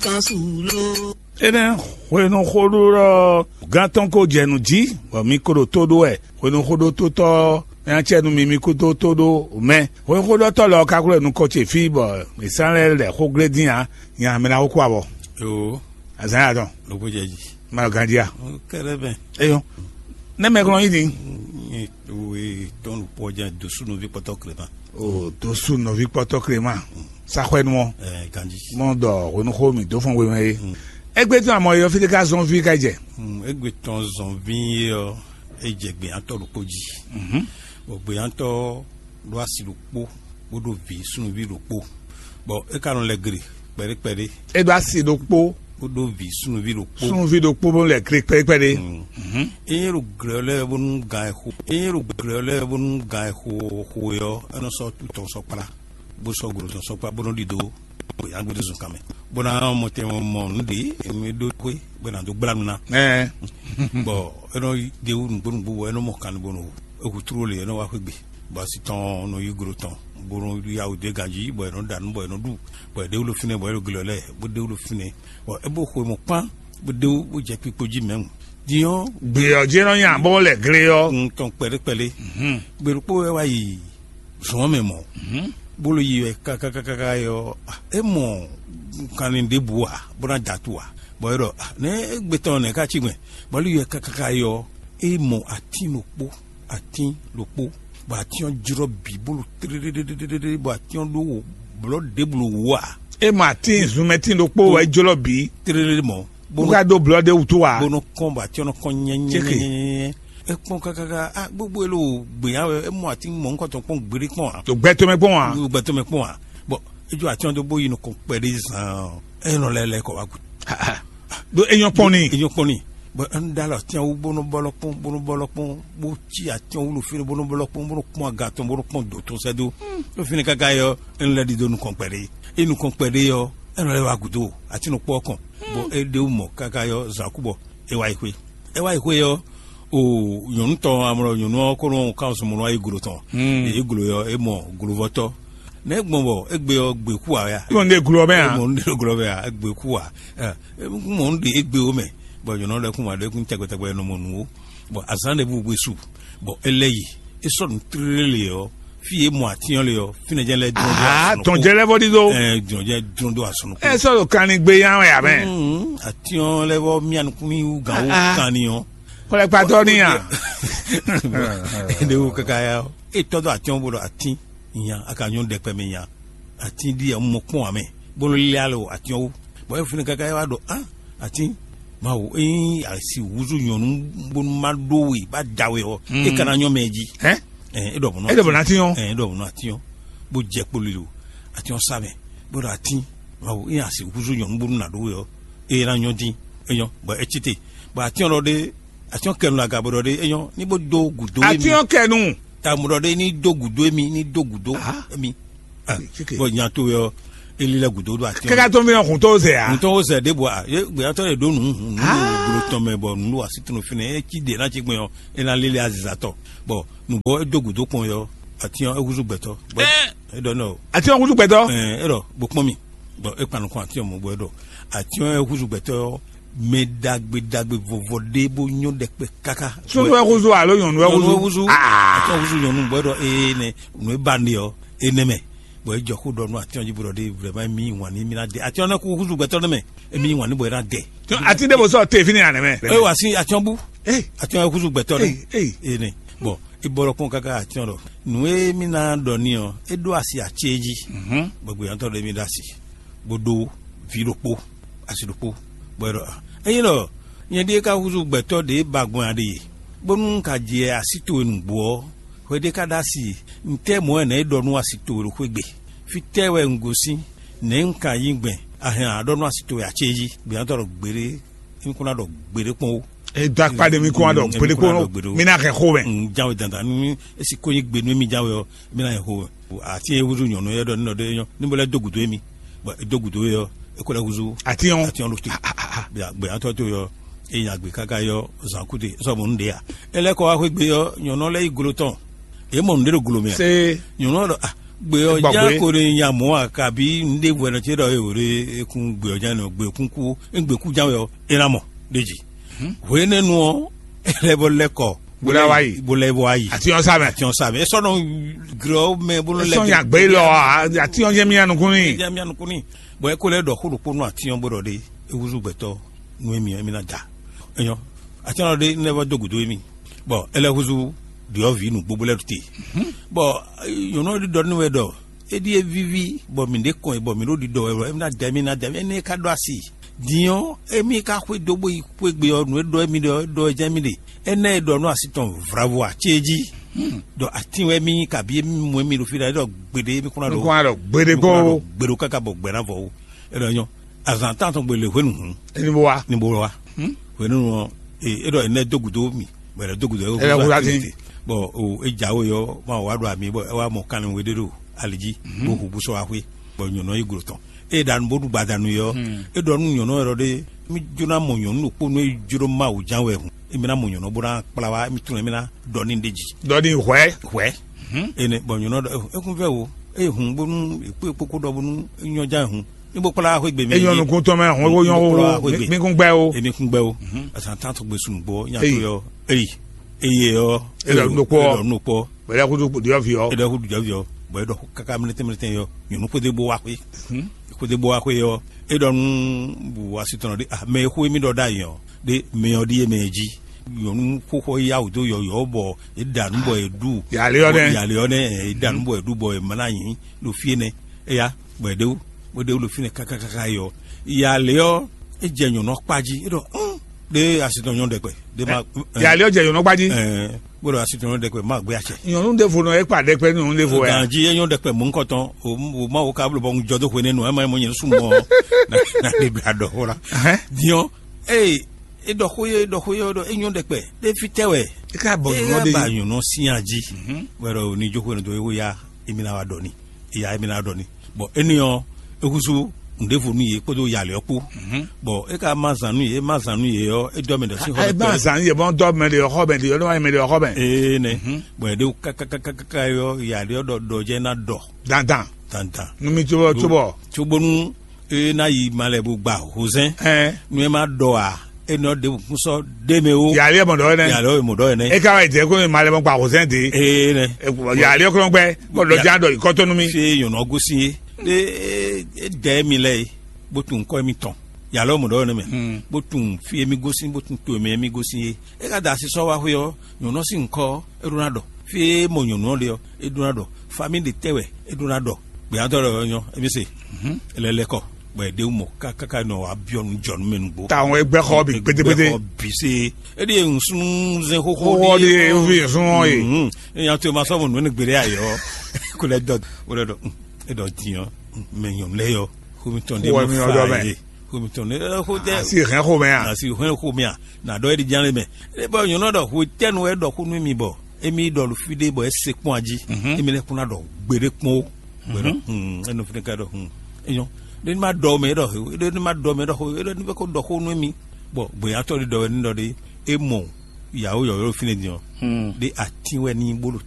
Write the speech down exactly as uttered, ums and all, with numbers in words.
Kan su lo. Énɛ́ hwenu xó ɖó ɔ́, gán tɔn ko jɛ nǔ jí, bɔ mi ko ɖo tó ɖó wɛ. Hwenu xó ɖó tó tɔ́ ɔ́, mɛ ɔ́ cɛ nú mi, mi kúdó tó ɖó mɛ. Hwenu xó ɖó tɔ́ lɔ ɔ́ ka xwlɛ́ nukɔn ce fí, bɔ mǐ sán lɛ́ lɛ̌ xó glé dín ǎ, nya mɛ ná xó kú abɔ. Yoo, azǎn ya tɔn, lobó jɛ jí. Ma ɖo ganjí a? Kɛɖɛ bɛn. Eyɔn, ne mɛ glɔn yí din. Tɔn ɖo pɔ́ jɛ dosú nɔví kpɔtɔ Clément. O dosú nɔví kpɔtɔ Clément. Saxwɛnu ɔ. Ɛɛ, ganjí. Mɔ dɔ hwenuxó mi dó fɔn wemɛ é. Égbé tɔn amɔ yɔ fí ɖé ká zɔn fí ká jɛ. Égbé tɔn zɔn fí é ɔ́, é jɛ gběyàtɔ ɖokpó jí. Bɔ gběyàtɔ ɖó asi ɖokpó, bó ɖó vǐ súnnuví ɖokpó. Bɔ é ka nɔ lɛ gre kpɛɖé kpɛɖé. É ɖó asi ɖokpó, bó ɖó vǐ súnnuví ɖokpó. Súnnuví ɖokpó bó lɛ gre kpɛɖé kpɛɖé. Ényí ɖo glɛ̌ lɛ́ɛ bónú gan e xo ényí ɖo glɛ̌ lɛ́ɛ bónú gan e xo xo é ɔ́, é nɔ sɔ́ tɔn sɔ́ kplá, bó sɔ́ glo tɔn sɔ́ kplá, bó nɔ ɖidó gběyàgbé zunkan mɛ, bó ná mɔ tɛn mɔ nǔ ɖě e ɖó xwé bó ná dó gbla nú ná. Bɔ é nɔ ɖe wú nǔgbó nǔgbó bɔ é nɔ mɔ kan bó nɔ ehu tló lě é nɔ wá xwé gbe. Bɔ asi tɔn nɔ yí glo tɔn, bó nɔ yá wǔ dó ganjí, bɔ è nɔ ɖa nǔ, bɔ è nɔ ɖu, bɔ è ɖe wú ɖo fínɛ́, bɔ é ɖo glɔ́ lɛ́ɛ, bó ɖe wú ɖo fínɛ́, bɔ é bó xwe mɔ kpán, bó ɖe wú bó jɛ kpikpo jí mɛ̌ mu. Din ɔ́, gbě ɔ́ jí nɔ nya bó lɛ gle ɔ́. Un tɔn kpɛɖé kpɛɖé. Gbe ɖokpó wɛ wá yi zɔn mɛ mɔ, bó ló yi wɛ kákákáká yɔ, é mɔ kanlin ɖěbǔ ǎ, bó ná da tu ǎ. Bɔ é ɖɔ, nɛ̌ égbé tɔn nɛ̌ ká cí gbɛn? Bɔ ló yi wɛ kákáká yɔ, é mɔ atín ɖokpó, atín ɖokpó, bɔ atín ɔ́ jlɔ́ bǐ bó ɖo tlélélélélé, bɔ atín ɔ́ ɖó blɔ̌ ɖěbǔ ɖo wǔ ǎ. É mɔ atín zunmɛtín ɖokpó wɛ jlɔ́ bǐ. Tlélélé mɔ, bó ka ɖó blɔ̌ ɖé wútu ǎ. Bó nɔ kɔn bɔ atín ɔ́ nɔ kɔn nyɛnyɛnyɛnyɛ. É kpɔ́n kákáká, gbogbo e lo gběnya wɛ, é mɔ atín mɔ̌hunkɔtɔn kpɔ́n gbeɖé kpɔ́n ǎ. Ɖo gbɛ tɔn mɛ kpɔ́n ǎ. Ɖo gbɛ tɔn mɛ kpɔ́n ǎ. Bɔ é jó atín ɔ́ dó bó yi nukɔn kpɛɖé zaan ɔ́, é nɔ lɛ́ lɛ́ kɔ wá gǔ. Ɖó é nyɔ́ kpɔ́n n'i. É nyɔ́ kpɔ́n n'i. Bɔ é nɔ ɖó alɔ atín ɔ́ wú bó nɔ bɔ́lɔ́ kpɔ́n, bó nɔ bɔ́lɔ́ kpɔ́n, bó cí atín ɔ́ wú ɖo fínɛ́, bó nɔ bɔ́lɔ́ kpɔ́n, bó nɔ kpɔ́n aga tɔn, bó nɔ kpɔ́n dǒ tɔn sɛ́ dó. Ɖo fínɛ́ káká é ɔ́, é nɔ lɛ́ ɖidó nukɔn kpɛɖé. É nukɔn kpɛɖé ɔ́, é nɔ lɛ́ wá gǔdo atín nukpɔ́ ɔ́ kɔn, bɔ é ɖe wú mɔ káká é ɔ́, zǎn kú bɔ é wá yi xwé. É wá yi xwé ɔ́, o nyɔ̌nu tɔn amlɔ nyɔ̌nu ɔ́ ko nɔ kan sɔmɔnɔ wá yi glo tɔn. Yě glo ɔ́, é mɔ glovɔ́tɔ́. Nɛ̌ gbɔn bɔ égbé ɔ́ gbě kú ǎ wɛ a? Mɔ nɖé glo ɔ́ mɛ ǎ. Mɔ nɖé glo ɔ́ mɛ ǎ, égbé kú ǎ. Ɛ, mɔ nɖé égbé ó mɛ, bɔ nyɔ̌nu lɛ́ɛ kún wá ɖo é kún tɛgbɛtɛgbɛ nɔ mɔ nǔ ó. Bɔ azǎn ɖěbǔ gbe su, bɔ é lɛ́ yi. É sɔ́ nǔ tlélé ɔ́, fí e mɔ atín ɔ́ le ɔ́, fínɛ́ jɛ́n lɛ́ dlɔ́n dó asɔnukún. Tɔn jɛ lɛ́ vɔ ɖíɖó. Ɛ, dlɔn jɛ dlɔ́n dó asɔnukún. Ɛ sɔ́ ɖo kanlin gbé yán wɛ ǎ mɛ. Atín ɔ́ lɛ́ vɔ mía nukún mì wú gǎn wú kanlin ɔ́. Xwlɛkpatɔ́ ní a? Ɖe wo kaka ya ɔ́, é tɔ́ dó atín ɔ́ bó ɖɔ atín nya, a ka nyɔ́ ɖɛkpɛ mɛ nya. Atín ɖíe un mɔ kpɔ́n ǎ mɛ, bó nɔ lé alɔ atín ɔ́ wú. Bɔ é fínɛ́ káká é wá ɖɔ á, atín, Mawu, ényí a si húzú nyɔ̌nu bónú má ɖó we bá da we ɔ́, é ka ná nyɔ́ mɛ jí. Hɛn? Ɛ, é ɖɔ bɔ̌ nɔ É ɖɔ bɔ̌ ná atín ɔ́. Ɛ, é ɖɔ bɔ̌ nɔ atín ɔ́, bó jɛ kpoli lo atín ɔ́ sá mɛ, bó ɖɔ atín, Mawu, ényí a si húzú nyɔ̌nu bónú ná ɖó we ɔ́, é ná nyɔ́ dín. É nyɔ́, bɔ é cí te, bɔ atín ɔ́ ɖɔ ɖé, atín ɔ́ kɛ nu aga bó ɖɔ ɖé, é nyɔ́, ní bó dó gǔdo émi. Atín ɔ́ kɛ nu. Amú ɖɔ ɖé ní dó gǔdo émi, ní dó gǔdo émi. Ah, bɔ nya towe ɔ́, é lílɛ́ gǔdo ɖo atín ɔ́. Kɛ́ká tó mi nɔ hun tó zɛ a? Hun tó zɛ ɖěbǔ a? Yé gbéyàtɔ yɛ ɖó nǔ hun nǔ ɖo glo tɔn mɛ, bɔ nǔ ɖo así tɔn fínɛ́, é cí ɖě ná cí gbɛn ɔ́, é ná lílɛ́ azizatɔ. Bɔ nǔgbó é dó gǔdo kpɔn ɔ́, atín ɔ́ é húzú gbɛtɔ́. Bɔ é ɖɔ nɔ. Atín ɔ́ húzú gbɛtɔ́. Ɛ é ɖɔ bó kpɔ́n mi, bɔ é kpan nukɔn atín ɔ́ mɔ bɔ é ɖɔ atín ɔ́ é húzú gbɛtɔ́ ɔ́, mɛ ɖagbe ɖagbe vɔvɔ ɖé bó nyɔ́ ɖɛkpɛ káká. Súnnu wɛ húzú alo nyɔ̌nu wɛ húzú? Nyɔ̌nu wɛ húzú. Atín ɔ́ húzú nyɔ̌nu bɔ é ɖɔ ee nɛ nǔ e ba ɖe ɔ́, é nɛ́ mɛ. Bɔ é jɔ xó ɖɔ nú atín ɔ́ jí bó ɖɔ ɖé vrɛ̌ma émí wǎn ní émí ná ɖe. Atín ɔ́ ná kú húzú gbɛtɔ́ nɛ́ mɛ, émí wǎn ní bɔ é ná dɛ. Atín ɖé bó sɔ́ te fínɛ́ ǎ nɛ́ mɛ. É wá sí atín ɔ́ bú. Atín ɔ́ húzú gbɛtɔ́ nɛ́. Ene. Bɔ é bɔlɔ kpɔ́n káká atín ɔ́ ɖɔ nǔ e mí ná ɖɔ n'i ɔ́, é ɖó asi ací é jí. Bɔ gběyàtɔ́ ɖé mí ɖó asi, bó ɖó vǐ ɖokpó, asi ɖokpó, bɔ é ɖɔ ényí ɖɔ nyɛ ɖíe ka húzú gbɛtɔ́ ɖě ba gbɔn a ɖe, bónú un ka jɛ así towe nǔgbó ɔ́, hwe ɖé ka ɖó asi, ntɛ́ mɔ̌ wɛ nɛ̌ é ɖɔ nú asi towe ɖo xwé gbe? Fítɛ́ wɛ un gosín? Nɛ̌ un ka nyí gbɛn? A hɛn a ɖɔ nú asi towe acé jí? Gběyàtɔ́ ɖɔ gbeɖé, un kún ná ɖɔ gbeɖé kpɔ́n ó. E dó akpá ɖe mi kún wá ɖɔ gbeɖé kpɔ́n ó. Mi ná hɛn xó mɛ. Un jáwé dandan nú esi kó nyí gbe nú mi jáwé ɔ́, mi ná hɛn xó mɛ. Atín e húzú nyɔ̌nu é ɖɔ nínɔ ɖé nyɔ́ ní bó lɛ́ dó gǔdo émí, bɔ é dó gǔdo é ɔ́, é kó lɛ́ húzú. Atín ɔ́. Atín ɔ́ ɖo te. Gběyàtɔ́ tó yɔ é nya gbě káká yɔ zǎn kúte sɔ mɔ nǔɖé ǎ. É lɛ́ kɔ wá xwé gbe ɔ́, nyɔ̌nu ɔ́ lɛ́ yi glo tɔn. É mɔ nǔɖé ɖo glo mɛ ǎ. Nyɔ̌nu ɔ́ ɖɔ a Gbé ɔ́ Gbɔgbé. Ján ko ɖe nya mɔ̌ a kabi un ɖe hwɛnɔ ce ɖɔ e wǒ ɖe ekun gbé ɔ́ ján nɔ gbé kún kú gbé kú ján wɛ ɔ́, é ná mɔ ɖe jí. Hwenɛ́nu ɔ́, ɛlɛ bɔ lɛ kɔ Bó lɛ́ wá yi. Bó lɛ́ wá yi. Àti ɔ́ sá mɛ. Àti ɔ́ sá mɛ. É sɔ́ nɔ grɔ mɛ bó lɛ́ Sɔ́n nya gbé lɔ, àti ɔ́ jẹ́ mía nukún ní. Jẹ́ mía nukún ní. Bɔn é kó lɛ́ ɖɔ xó ɖokpó nú àti ɔ́ bó ɖɔ ɖe é húzú gbɛtɔ́ nú émí ɔ́, émí ná da. Enyɔ, àti ɔ́ ɖe nɛ́ vɔ dó gǔdo émí. Bɔn é lɛ́ húzú ɖyɔ̌vǐ nǔgbó bó lɛ́ ɖu te. Bɔn nyɔ̌nu ɔ́ ɖi ɖɔ nú wɛ ɖɔ é ɖíe víví bɔ mǐ ɖe kɔn bɔ mǐ ɖo ɖiɖɔ wɛ bɔ émí ná da émí ná da émí énɛ́ ka ɖó asi. Din ɔ́, émí ka xwedó bó yi xwé gbe ɔ́, nǔ e ɖɔ émí ɖe ɔ́, é ɖɔ é jɛ́n mì ɖe. Énɛ́ e ɖɔ nú asi tɔn vravo ǎ cé jí. Ɖɔ atín wɛ mì nyí kabi émí mɔ émí ɖo fí ɖa é ɖɔ gbeɖé émí kún ná ɖo Nukún aɖɔ gbeɖé kó. Gbeɖo káká bɔ gbɛ ná vɔ ó. É ɖɔ nyɔ́ azǎn tán tɔn gbe lě hwenu hǔn Ní bó wá. Ní bó wá. Hwenu ɔ́, é ɖɔ énɛ́ dó gǔdo mì bɔ é dó gǔdo é Ɛ, wúzú wúzú atín atín. Tete. Bɔ o é jǎwe ɔ́ ma wá ɖo ami bɔ é wá mɔ kanlin we ɖé ɖo ali jí bó hu bó sɔ́ wá xwé bɔ nyɔ̌nu ɔ́ yi glo tɔn. É ɖa nǔ bó ɖu gbadanu yɔ. É ɖɔ nú nyɔ̌nu ɔ́ ɖɔ ɖé mí jó ná mɔ nyɔ̌nu ɖokpó nú é jló Mawu ján wɛ hǔn. Émí ná mɔ nyɔ̌nu ɔ́ bó ná kplá wá émí tunwun émí ná ɖɔ ní ɖe jí. Ɖɔ ní hwɛ̌. Hwɛ̌. Énɛ́ bɔ nyɔ̌nu ɔ́ ɖɔ é kún vɛ́ o é hun bónú é kpó é kpókó ɖɔ bónú é nyɔ́ ján hǔn. Ní bó kplá wá xwé gbe mɛ É nyɔ́ nukún tɔn mɛ hɔn é wó nyɔ́ Ní bó kplá wá xwé gbe. Mí kún gbɛ o. Émí kún gbɛ o. Azǎn tán tɔn gbe sun gbɔ nyá tó Éyi. Yɔ. Éyi. Eye ɔ́. É ɖɔ nú ɖokpó ɔ́. É ɖɔ nú ɖokpó. Bɛlɛ kutu ɖiɔ vi ɔ́. É ɖɔ kutu ɖiɔ vi ɔ́. Bɔ é ɖɔ kaka mlɛtɛn mlɛtɛn yɔ nyɔ̌nu xwedó bó wá xwé. Xwedó bó wá xwé ɔ́, é ɖɔ nú bu asitɔnɔ ɖé ah mɛ e xó émí ɖɔ ɖ'ayǐ ɔ́ ɖé mɛ ɔ́ ɖíe mɛ e jí. Nyɔ̌nu xóxó yá wǔ dó yɔ̌yɔ́ bɔ é ɖa nǔ bɔ é ɖu. Yǎ lé ɔ́ nɛ́. Yǎ lé ɔ́ nɛ́ é ɖa nǔ bɔ é ɖu bɔ é má ná nyǐ ɖo fí énɛ́. Éyá, bɔ é ɖe wú bó ɖe wú ɖo fínɛ́ kákákáká yɔ. Yǎ lé ɔ́, é jɛ nyɔ̌nu ɔ́ kpá jí é ɖɔ ɖé asitɔnɔ nyɔ́ ɖɛkpɛ ɖé má. Yǎ lé ɔ́ jɛ nyɔ̌nu ɔ́ kpá jí. Bó ɖɔ asitɔnɔ ɖɛkpɛ má gbé acɛ. Nyɔ̌nu ɖěvo nɔ é kpa ɖɛkpɛ nyɔ̌nu ɖěvo wɛ a? Ganji é nyɔ́ ɖɛkpɛ mɔ̌ ŋkɔtɔn. O ma wo ka bló bɔ un jɔ dó hwenɛ́nu ɛ má nyí mɔ nyɛ sún mɔ na ɖe bla ɖɔ xó la. Diɔ eye é ɖɔ xó yɛ é ɖɔ xó yɛ ɖɔ é nyɔ́ ɖɛkpɛ ɖé fítɛ́ wɛ. É ká bɔ nyɔ̌nu ɖé ba nyɔ̌nu sín ají. Wɛ ɖɔ ní jó xwénu dó é wó ya émi ná wá ɖɔ ní. Ìyá émi ná ɖɔ ní. Bɔn éní ɔ́ é húzú nǔɖévo nú yě kpódó yalě ɔ́ kpó. Bɔn é ka má zǎn nú yě é má zǎn nú yě ɔ́ é dɔ́ mɛ ɖɔ sín xɔ Ɛ bá zan yɛ bɔn dɔ mɛ de xɔ mɛ de yɔ dɔ mɛ de xɔ mɛ. Ee nɛ. Bɔn yě ɖe kákákákáká ɔ́ yalě ɔ́ ɖɔ ɖɔ jɛ ná ɖɔ. Dandan. Dandan. Numi tso bɔ tso bɔ. Tso bonu é ná yi malɛ bó gba hozɛn. Ɛn. Nú é má ɖɔ a é nɔ ɖe kún sɔ ɖé mɛ o. Yalě mɔ dɔ yɛ nɛ. Yalě ɔ́ mɔ dɔ yɛ nɛ. E ka wa jɛ ko ma lɛ mɔ gba hozɛn de. Ee nɛ. Yalě kɔnɔ gbɛ. Bɔ dɔ jan dɔ ikɔtɔnu mi. Fi nyɔnɔ gosi ye. E e dɛ mi lɛ ye. Bó tún kɔ mi tɔn. Yalɔ mɔ dɔ yɛ nɛ mɛ. Bó tún fi mi gosi bó tún to mi mi gosi ye. E ka da asi sɔ wa xwe ɔ nyɔnɔ si nkɔ e ɖo na dɔ. Fi e mɔ nyɔnɔ le ɔ e ɖo na dɔ. Fami de tɛ wɛ e ɖo na dɔ. Gbɛyatɔ lɛ ɔ́ nyɔ, e bɛ se. Ele lɛ kɔ, bɔ e ɖe mɔ kákáká nɔ wa biɔ nu jɔ nu mɛ nugbo. Ta àwọn ẹgbẹ́ xɔ bi gbédégbédé. Xɔ bi se. E de ŋsunu zɛn xoxo. Xɔ de evi ŋsunu ye. E nya to ma sɔ mo nu ne gbeɖe ayɔ. Ko lɛ dɔ, o lɛ dɔ, e dɔ diɔ, mɛ nyɔnu lɛ yɔ. Xomitɔn de Xɔ mo mi fa ɔdɔ mɛ. Ye. Xomitɔn de, xo de. Asi hɛn xo mɛ a. Asi hɛn xo mɛ a. Na dɔ e di jan le mɛ. E bɔ nyɔnu dɔ xo tɛnu e dɔ xo nu mi bɔ. Emi ɖɔ ɖo fí ɖé bɔ é se kpɔ́n ají. Emi lɛ́ kún ná ɖɔ gbeɖé kpɔ́n ó. Gbɛɖɔ hun enɔ fínɛ́ ká ɖɔ hun enyɔ ɖé ní ma ɖɔ mɛ ɖɔ he ɖé ní ma ɖɔ mɛ ɖɔ ho ɖé ní bɛ ko ɖɔ xó nú emi. Bɔ gbɛ̌yatɔ́ ɖé ɖɔ wɛ ní ɖɔ ɖé é mɔ yàwó yɔ̌yɔ́ fínɛ́ din ɔ́. Ɖé atín wɛ ní bó ɖo te.